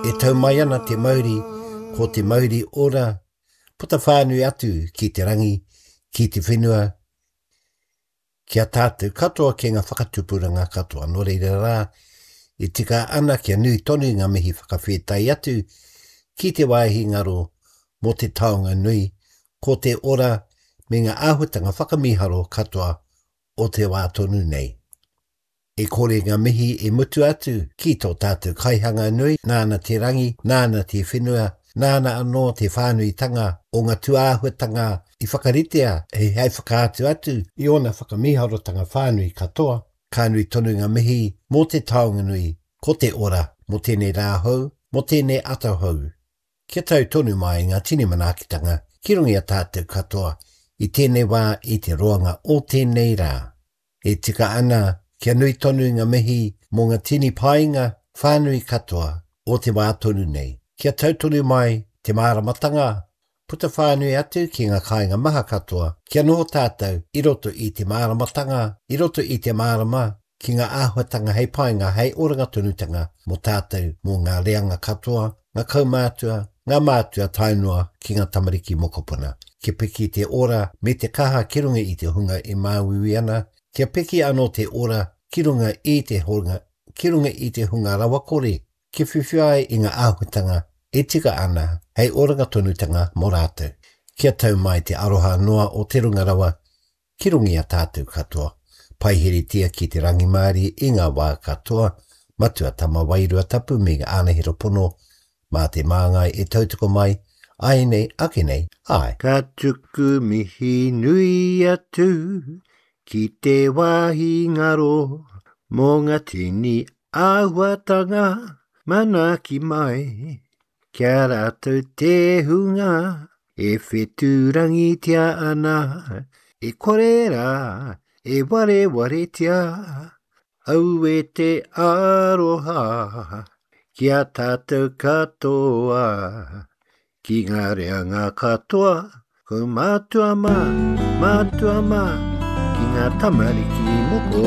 E tau mai ana te mauri, ko te mauri ora, puta whānui atu ki te rangi, ki te whenua, ki a tātou katoa ki ngā whakatupuranga katoa. Nō reira rā, e tika ana kia nui tonu ngā mihi whakawhētai atu ki te wāhi ngaro mō te taonga nui, ko te ora me ngā āhuatanga whakamīharo katoa o te wā tonu nei. E kore ngā mihi e mutu atu ki tō tātou Kaihanga nui, nāna te rangi, nāna te whenua, nāna anō te whānuitanga o ngā tūāhuatanga i whakaritea hei whakaatu atu i ōna whakamīharotanga whānui katoa. Ka nui tonu ngā mihi mō te taonga nui, ko te ora, mō tēnei rā hou, mō tēnei ata hou. Kia tau tonu mai ngā tini manaakitanga ki runga i a tātou katoa i tēnei wā i te roanga o tēnei rā. E tika ana kia nui tonu ngā mihi mō ngā tini painga whānui katoa o te wā tonu nei. Kia tau tonu mai te māramatanga, puta whānui atu ki ngā kāinga maha katoa, kia noho tātou i roto i te māramatanga, i roto i te mārama ki ngā āhuatanga hei painga, hei oranga tonutanga mō tātou, mō ngā reanga katoa, ngā kaumātua, ngā mātua tae noa ki ngā tamariki mokopuna. Kia piki te ora me te kaha ki runga i te hunga e māuiui ana, kia piki anō te ora ki runga i te hunga, ki runga i te hunga rawakore, kia whiwhi ai i ngā āhuatanga e tika ana hei oranga tonutanga mō rātou. Kia tau mai te aroha noa o te runga rawa Ki runga i a tātou katoa, paiheretia ki te rangimārie i ngā wā katoa, Matua Tama Wairua Tapu me ngā ānahera pono, mā te māngai e tautoko mai, āianei, ake nei, āe. Ka tuku mihi nui atu ki te wāhi ngaro mō ngā tini āhuatanga manaaki mai. Ki a rātou te hunga e whetūrangitia ana, e kore rā e warewaretia, aue te aroha ki a tātou katoa, ki ngā reanga katoa, kaumātua mā, mātua mā, ki ngā tamariki moko.